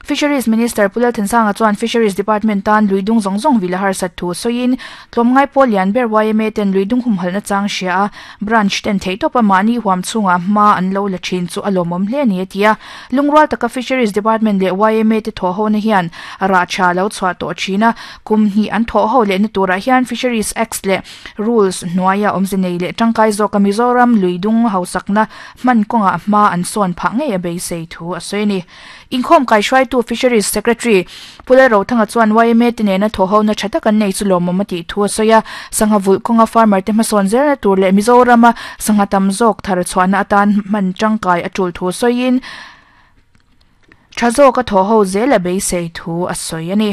Fisheries Minister Pu Lalthansanga chuan Fisheries Department tan lui dung zawng zawng vil a harsat thu sawiin tlawmngai pawl lian ber yma ten lui dung humhalhna chang hria a, branch ten theihtawpa mahni huam chhungah hma an lo la thin chu a lawmawm hle a ni a ti a. Lungrual taka Fisheries Department leh yma te thawhhona hian rah tha lo chhuah tawh thin a, kum hnih an thawhho lehna turah hian Fisheries Acts leh Rules hnuaia awmze nei leh tangkai zawka Mizoram lui dung hausakna hman kawngah hma an sawn phah ngei a beisei thu a sawi a ni. Inkhawm kaihruaitu Fisheries Secretary Pu Lalrothanga chuan yma te nena thawhhona tha tak an nei chu lawmawm a tih thu a sawi a, sangha vulh kawnga farmer te hmasawn zelna tur leh Mizorama sangha tam zawk thar chhuahna atan hman tangkai a tul thu sawiin tha zawka thawhho zel a beisei thu a sawi a ni.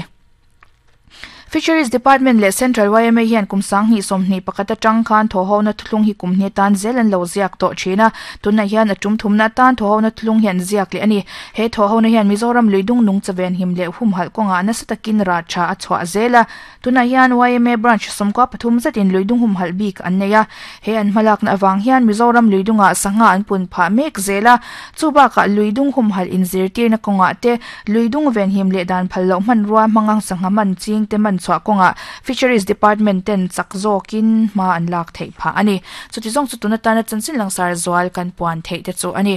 Fisheries Department leh Central yma hian kum 2021 atang khan thawhhona thuthlung hi kum hnih atan zel an lo ziak tawh thin a, tunah hian a tum thumna atan thawhhona thuthlung hi an ziak leh a ni. He thawhhona hian Mizoram lui dung nung chaven him leh humhalh kawngah nasa takin rah tha a chhuah zel a, tunah hian yma branch 13 zetin lui dung humhalh bik an nei a, he an hmalakna avang hian Mizoram lui dungah sangha an pun phah mek zel a, chu bakah lui dung humhalh inzirtirna kawngah te Lui dung venhim leh dan phal loh hmanrua hmanga sangha man ching te man chhuah kawngah Fisheries Department ten chak zawkin hma an lak theih phah a ni. Chuti zawng chu tun atana chanchin langsar zual kan puan theih te chu a ni.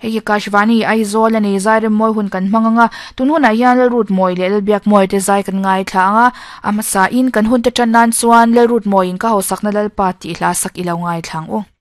Hei hi Kashvani Aizawl a ni, zai rem mawi hun kan hmang ang a, tun hunah hian Lalrut Mawi leh Lalbiak Mawi te zai kan ngaithla ang a, a hmasa in kan hun te tan nan chuan Lalrut Mawiin ka hausakna Lalpa tih hla sak i lo ngaithla ang u.